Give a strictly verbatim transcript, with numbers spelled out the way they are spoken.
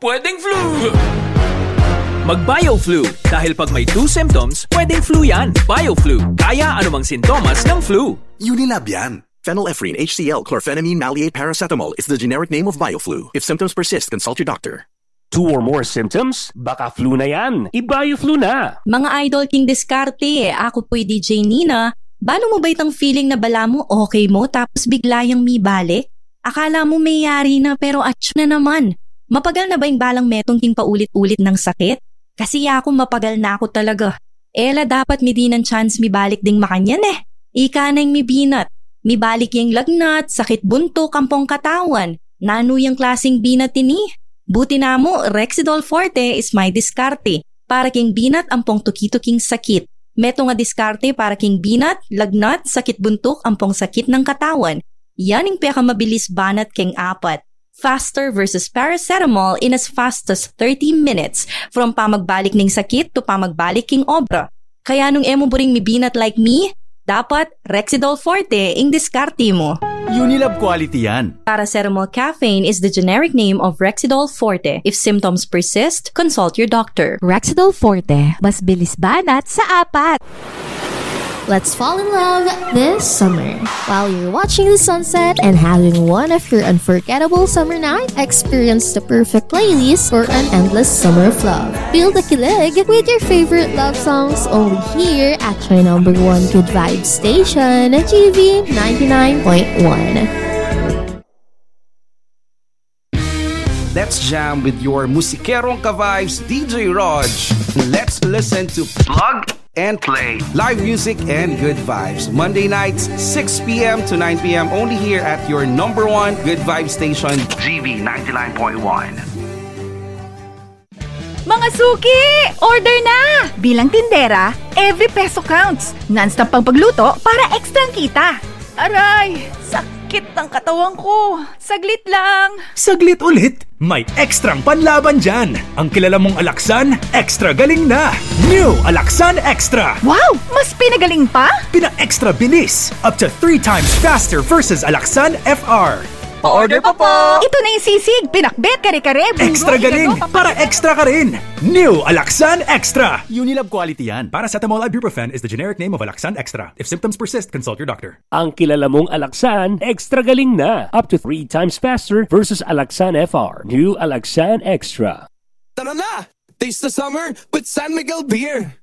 Pwedeng flu! Mag-BioFlu, dahil pag may two symptoms, pwedeng flu yan. BioFlu, kaya anumang sintomas ng flu. Unilab yan. Phenylephrine H C L, chlorphenamine maleate paracetamol is the generic name of BioFlu. If symptoms persist, consult your doctor. Two or more symptoms? Baka flu na yan. I-BioFlu na. Mga idol king diskarte, aku pu'y D J Nina. Banu mu ba itang feeling na balamu okay mu tapos bigla yang mibalik? Akala mu meyari na pero atsu na naman. Mapagal na ba ing balang metung king paulit-ulit nang sakit? Kasi yaku mapagal na ku talaga. E la dapat midinan chance mibalik ding makanyan e. Ika na ing mibinat. Mibalik ya ing lagnat, sakit buntuk, ampong katawan. Nanu yang klaseng binat ini? Buti namu, Rexidol Forte is my diskarte para king binat ampong tuki-tuking sakit. Metung a diskarte para king binat, lagnat, sakit buntuk, ampong sakit ning katawan. Yan ing pekamabilis banat keng apat. Faster versus paracetamol in as fast as thirty minutes, from pamagbalik ning sakit to pamagbalik king obra. Kaya nung e mu buring mibinat like me, dapat Rexidol Forte ing diskarte mu. Unilab quality yan. Paracetamol caffeine is the generic name of Rexidol Forte. If symptoms persist, consult your doctor. Rexidol Forte, mas bilis banat sa apat. Let's fall in love this summer. While you're watching the sunset and having one of your unforgettable summer night, experience the perfect playlist for an endless summer of love. Feel the kilig with your favorite love songs only here at your number one good vibe station, G V ninety-nine point one. Let's jam with your musikerong ka-vibes, D J Rog. Let's listen to Plug and Play. Live music and good vibes. Monday nights, six p.m. to nine p.m. only here at your number one good vibe station, G V ninety-nine point one. Mga suki! Order na! Bilang tindera, every peso counts. Non-stop pang pagluto para extra ang kita. Aray! Sakit ng katawan ko. Saglit lang. Saglit ulit? May extrang panlaban dyan. Ang kilala mong Alaxan, extra galing na. New Alaxan Extra. Wow! Mas pinagaling pa? Pina-extra bilis. Up to three times faster versus Alaxan F R. Pa-order pa po! Ito na yung sisig, pinakbet, kare-kare, bungo, extra galing, higado, para extra ka rin. New Alaxan Extra. Unilab quality yan. Paracetamol ibuprofen is the generic name of Alaxan Extra. If symptoms persist, consult your doctor. Ang kilala mong Alaxan, extra galing na. Up to three times faster versus Alaxan F R. New Alaxan Extra. Tara na! Taste the summer with San Miguel Beer.